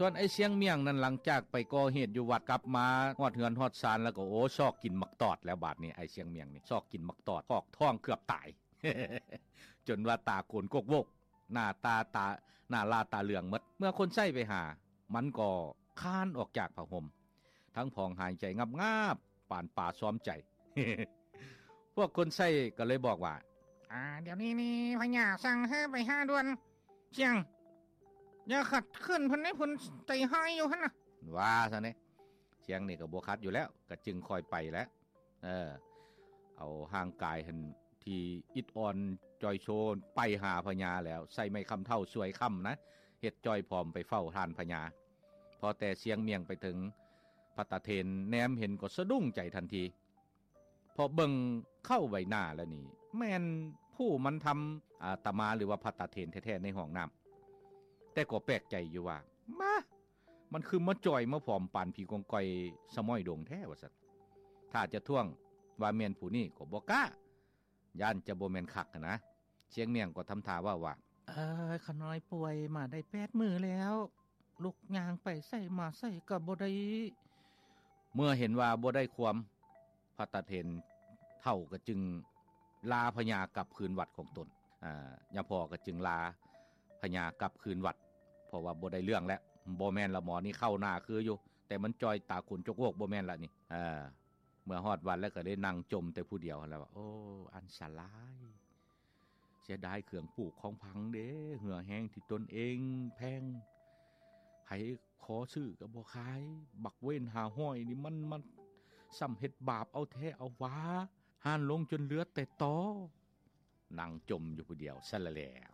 ສ່ວນໄອ້ຊຽງມຽງນັ້ນ ຫຼັງຈາກໄປກໍ່ເຫດຢູ່ວັດ ກັບມາຮອດເຮືອນຮອດຊານແລ້ວກໍ ໂອ້ ຊອກກິນໝາກຕອດແລ້ວ ບາດນີ້ໄອ້ຊຽງມຽງນີ້ ຊອກກິນໝາກຕອດ ຄອກທ້ອງເກືອບຕາຍ ຈົນວ່າຕາໂກນກົກໂວກ ໜ້າຕາ ຕາ ໜ້າລາຕາເຫຼືອງໝົດ. ເມື່ອຄົນໃຊ້ໄປຫາ ມັນກໍຄານອອກຈາກຜ້າຫົ່ມ ທັງຜອງຫາຍໃຈງາບໆ ປານປາຊອມໃຈ. ພວກຄົນໃຊ້ກໍເລີຍບອກວ່າ ອາ ດຽວນີ້ນີ້ພະຍາສັ່ງໃຫ້ໄປຫາດ່ວນ ຊຽງ ຢ່າຂັດຂືນເພິ່ນໃຫ້ເພິ່ນໃຈຮ້າຍຢູ່ຫັ້ນນະ ວ່າຊັ້ນເດ. ຊຽງນີ້ກໍບໍ່ຂັດຢູ່ແລ້ວ ກໍຈຶ່ງຄ່ອຍໄປແຫຼະ ເອີ ເອົາຮ່າງກາຍຫັ້ນທີ່ອິດອ່ອນຈ່ອຍໂຊໄປຫາພະຍາແລ້ວ ໃສ່ໄມ້ຄ້ຳເຖົ້າສວຍຄ້ຳນະ ເຮັດຈ່ອຍຜອມໄປເຝົ້າທ່ານພະຍາ. ພໍແຕ່ຊຽງມຽງໄປເຖິງ ພັດຕະເຖນແນມເຫັນກໍສະດຸ້ງໃຈທັນທີ ເພາະເບິ່ງເຄົ້າໃບໜ້າແລ້ວນີ້ ແມ່ນຜູ້ມັນທຳອາຕະມາ ຫຼືວ່າພັດຕະເຖນແທ້ໆໃນຫ້ອງນ້ຳ. ແຕ່ກໍແປກໃຈຢູ່ວ່າ ມາ ມັນຄືມາຈ່ອຍມາຜອມປານຜີກອງກອຍສະມ້ອຍດົງແທ້ວ່າຊັ້ນ. ຖ້າຈະທ້ວງວ່າແມ່ນຜູ້ນີ້ກໍບໍ່ກ້າ ຢ້ານຈະບໍ່ແມ່ນຄັກຫັ້ນນະ. ຊຽງມຽງກໍທຳທ່າເວົ້າວ່າ ເອີ ຂ້ານ້ອຍປ່ວຍມາໄດ້ແປດມື້ແລ້ວ ລຸກຍ່າງໄປໃສມາໃສກໍບໍ່ໄດ້. ເມື່ອເຫັນວ່າບໍ່ໄດ້ຄວາມ ພັດຕະເຖນເຖົ້າກໍຈຶ່ງລາພະຍາກັບຄືນວັດຂອງຕົນ. ອາ ຍາພໍ່ກໍຈຶ່ງລາພະຍາກັບຄືນວັດ ເພາະວ່າບໍ່ໄດ້ເລື່ອງແລ້ວ ບໍ່ແມ່ນລະໝໍນີ້ ເຄົ້າໜ້າຄືຢູ່ ແຕ່ມັນຈ່ອຍຕາໂກນຈົກໂວກ ບໍ່ແມ່ນລະນີ້. ເອີ ເມື່ອຮອດວັດແລ້ວກໍໄດ້ນັ່ງຈົ່ມແຕ່ຜູ້ດຽວຫັ້ນລະວ່າ ໂອ້ ອັນສະຫຼາຍ ເສຍດາຍເຄື່ອງປູກຂອງຝັງເດ້ ເຫື່ອແຮງທີ່ຕົນເອງແພງ ໃຜຂໍຊື້ກໍບໍ່ຂາຍ ບັກເວນຫ້າຮ້ອຍນີ້ ມັນ ມັນຊ່ຳເຮັດບາບເອົາແທ້ເອົາຫວາ ຮ້ານລົງຈົນເຫຼືອແຕ່ຕໍ. ນັ່ງຈົ່ມຢູ່ຜູ້ດຽວຊັ້ນລະແລ້ວ